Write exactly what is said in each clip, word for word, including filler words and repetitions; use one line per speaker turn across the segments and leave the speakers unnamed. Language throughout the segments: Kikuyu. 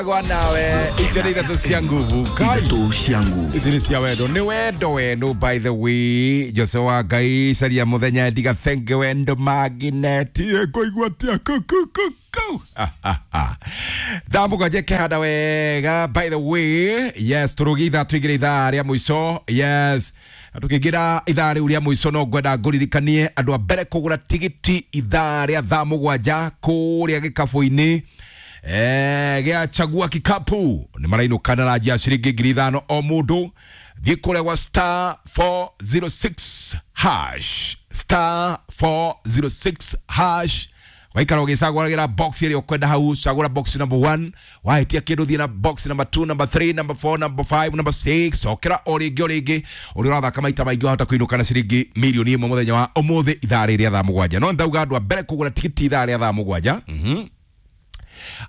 Gwa nawe icio nä ithatå cia nguvu. Ngai.
Ithatũ cia nguvu.
Ici nä cia wendo, nä wendo wenu. By the way, Jose wa Ngai caria muthenya ndiga thenge wendo magineti ngũigua atia kukukuku thaa mũgwanja kĩhanda wega. By the way, yes, tũrũgie ithaa tũingĩre ithaa rĩa mũico. Yes, tũkĩingĩra ithaa rĩu rĩa mũico, no ngwenda ngũririkanie andũ a mbere kũgũra tigiti ithaa rĩa thaa mũgwanja kũrĩa gĩkabũ-inĩ Eh, gĩa chagua kikapu nĩ marainũkana na njia ciringi ngiri ithano o mũndũ. Thiĩ kũrĩa gwa star four zero six hash, star four zero six hash, waikara ũgĩcagũragĩra box ĩrĩa ũkwenda hau. Cagũra box number one, wahĩtia kĩndũ thiĩ na box number two, number three, number four, number five, number six. Cokera o rĩngĩ o rĩngĩ. Ũrĩa ũrathaka maita maingĩ wahota kũinũka na ciringi mirioni ĩmwe mũthenya wa ũmũthĩ ithaa rĩrĩ rĩa thaa mũgwanja. No ndauga andũ a mbere kũgũra tigiti ithaa rĩa thaa mũgwanja, mhm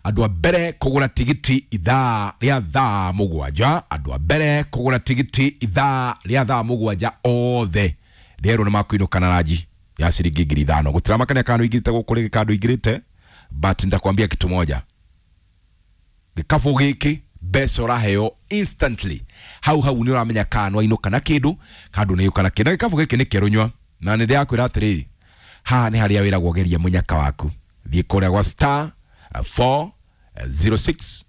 andũ a mbere kũgũra tigiti ithaa rĩa thaa mũgwanja, andũ a mbere kũgũra tigiti ithaa rĩa thaa mũgwanja othe rĩerwo nĩ makũinũka na ranji ya ciringi ngiri ithano. Gũtiramakania kana ũingĩrĩte gũkũ rĩngĩ kana ndũingĩrĩte, but nitakwambia kitu moja, gĩkabũ gĩkĩ mbeca ũraheo instantly hau hau. Nĩ ũramenya kana nĩwainũka na kĩndũ kana ndũnainũka na kĩndũ. Na gĩkabũ gĩkĩ nĩ kĩerũ nyua, na nĩ ndĩrakwĩra atĩrĩrĩ, haha nĩ harĩa wĩragwo geria mũnyaka waku. Thiĩ kũrĩa gwa star four zero six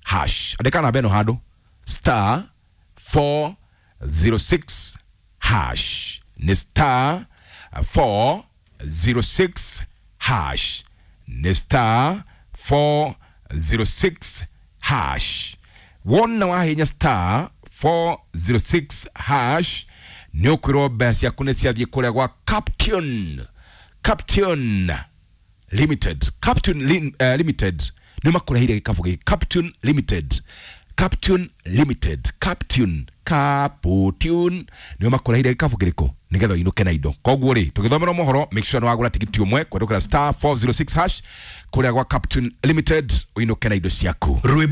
hash, andĩka namba ĩno handũ, star four zero six hash, nĩ star four zero six hash, nĩ star four zero six hash. Wona wahinya star four zero six hash, nĩ ũkwĩrwo mbeca ciaku nĩ ciathiĩ kũrĩa gwa Caption Caption Limited. Captain Lim, uh, Limited nĩ makũreheire gĩkabũ gĩkĩ. Captain Limited, Captain Limited, Captain Capotune nĩo makũreheire gĩkabũ kĩrĩkũ nĩgetha ũinũke na indo. Koguo rĩ, tũgĩthomera mohoro, make sure nĩ wagũra tigiti ũmwe kũhetũkĩra star four zero six hash kũrĩa gwa Captain Limited, ũinũke na indo ciaku.
Rwĩmbo.